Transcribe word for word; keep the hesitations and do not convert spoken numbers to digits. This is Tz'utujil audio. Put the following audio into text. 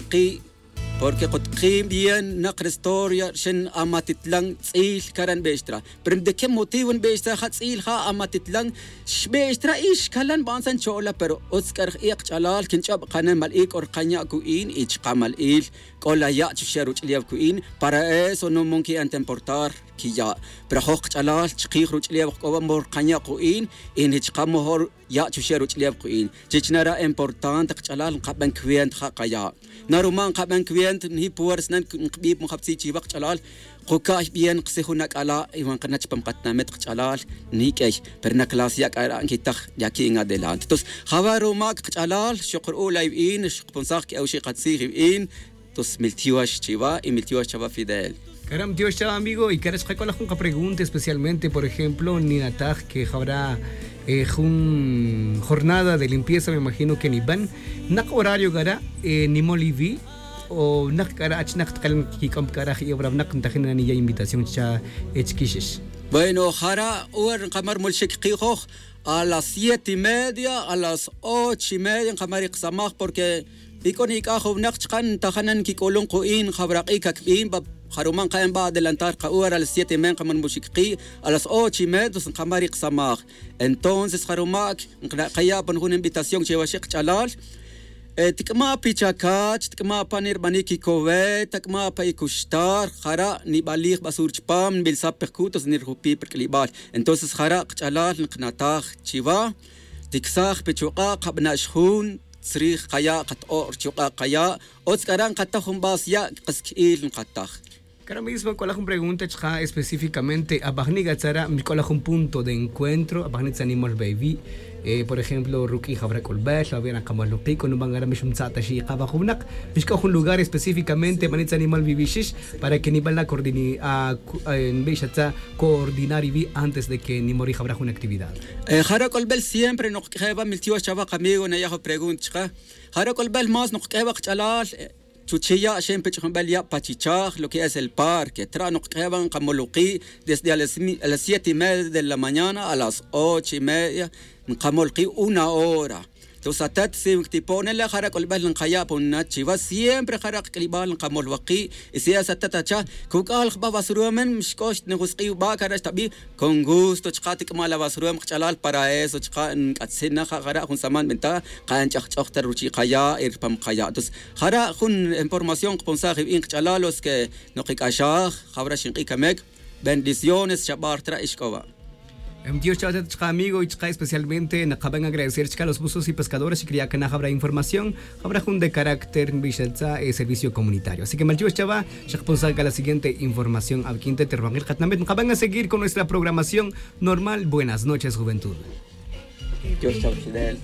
ki' porque kutki' bien nak re historia rixin amatitlan tz'il cara' nbix tra. Pero de qué motivo nbix tra ja tz'il ja amatitlan? Xbix tra y xcalan nban sa ncho'la pero utz c'a rij i' kach'alal quinch'ob kanen mal'il c'o rkanya' cu'in y chaka' mal'il c'o la ya' chuxe' ruch'ulew cu'in. Para eso no mon qui'an ta importar quiya'. Pero ajoj kach'alal chikij ruch'ulew c'o va mojol rkanya' ku'in y ni chaka' mojol ya' chuxe' ruch'ulew ku'in. Chich nara' importante kach'alal nkaben cuenta ja kaya'. Na ruma' nkaben cuenta ni puersa na nkbij pa jabtzi' chiva kach'alal, kuca'y bien kasi jun ac'ala' y va nkana' chupam katinamit kach'alal ni q'uey. Pero na clase ya' c'ara' nquitaj de aquí en adelante. Entonces java' ruma' kach'alal xok ru'ul la ivi'in xkaponsaj q'uew xi' katzij ivi'in. Entonces miltiox chiva y miltiox chava Fidel. Cara' miltiox chava amigo y cara' chaka' c'o la jun kapregunta especialmente por ejemplo ninataj que jawra jun jornada de limpieza me imagino que niban, nak horario cara' nimol ivi'? O nak cara' achinak takal nkic'om cara' ji'e' wara winak ntajin na niya' invitación cha chiquixix? Bueno jara' hora nkama' rmolxic ki' joj a las siete y media a las ocho y media nkama' ri kasamaj porque y c'o nic'aj jun winak chaka' ntajan na nquic'ulun ku'in jawrak'i' cacbin. Jaruma' nkaen ba adelantar kahora a las siete y media nkama' rmolxic ki' a las ocho y media ntonces nkama' ri kasamaj. Entonces jaruma' nkaya' pan jun invitación che waxi' kach'alal. Tic'ama' pi chacach tic'ama' pa nirbanik icowet tac'ama' pa icuxtar jara' nibalij basura chupam nbilsaj pi jcu' tonces nirjupi' pi rc'ulibal. Entonces jara' kach'alal nkanataj chiva ticsaj pi chuk'a' kabana' xjun tzrij kaya' kato'o' ri chuk'a' kaya'. Utz k'ara' nkataj jun base ya' kas qui'il nkataj. Cara' mismo c'o la jun pregunta chaka' específicamente abajni' catzara' mixc'o la jun punto de encuentro abajni' tzanimol bawi'? Por ejemplo ruq'ui' jawra c'ulbel awi' ra nkamol ruq'i' c'o nuban cara' mixumtza' ta xi' ikaba jun winak mixc'o jun lugar específicamente bani' tzanimol wiwixix para que niban la coordini nbix atza coordinar iwi' antes de que nimori jawra jun actividad. Jara' c'ulbel siempre nokq'ueje' va miltiox chava kamigo naya' jun pregunta chaka'. Jara' c'ulbel más nokq'ueje' va kach'alal chuchi' ya' xen pe ch'ujunbel ya' pa chichaj lo que es el parque tra' nokq'ueje' va nkamol uki' desde a las siete y media de la mañana a las ocho y media nkamol ki' una hora. Tus atat si tipo'ne le jara' c'ulbel nkaya' pa una chiva siempre jara' kac'ulibal nkamol waki'. Y si es atat acha cuc'al jba basurumen mixc'o xtnijusk'i' uba' cara' xtabi'. Con gusto chaka' tic'ama' la basurumen kach'alal para eso chaka' nc'atzin na ja jara' jun saman benta' ka nch'ajch'oj ta ruchi' kaya' y rupam kaya'. Tus jara' jun información kponsaj ivi'in kach'alal los que nokic'axaj jawra xink'i' camec. Bendiciones xabar tra' ixc'o va'. Em dios cha'atat chaka' amigo y chaka' especialmente nakaben agradecer chaka' los buzos y pescadores y criya' cana jawra información jawra jun de carácter nbixatza' servicio comunitario así que malchiwix chava. Xakponsaj c'a la siguiente información awiquin te te rubankil katinamit nakaben a seguir con nuestra programación normal buenas noches juventud. Dios chava chidel.